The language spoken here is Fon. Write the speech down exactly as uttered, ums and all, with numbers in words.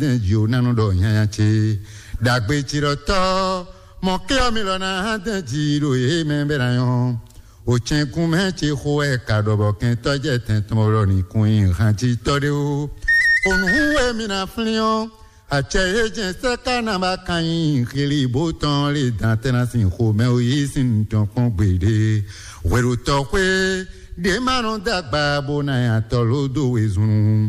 dɛn jí o nánú ɖɔ nyanya ce. Ɖagbe ci ɖɔ tɔ́ mɔ ké ɔ́ mi lɔ ná hán dɛn jí ɖo yě mɛ bɛ ná nyɔ́. O cɛnkún mɛ ce xo wɛ ka ɖɔ bɔ kɛntɔ́ jɛ tɛn tɔn bɔ ɖɔ ní kún nyi hán cí tɔ́ ɖé o. Onǔ wɛ mi ná flín ɔ́, acɛ e jɛn sɛ́ ká ná ba kan nyi xili bó tɔn lé dan tɛ́ ná sin xomɛ o yí sin tɔn kpɔ́n gbeɖé. Hwɛɖotɔ́ xwé ɖě ma nɔ dó agba bó ná nya tɔ́ ló dó wezun.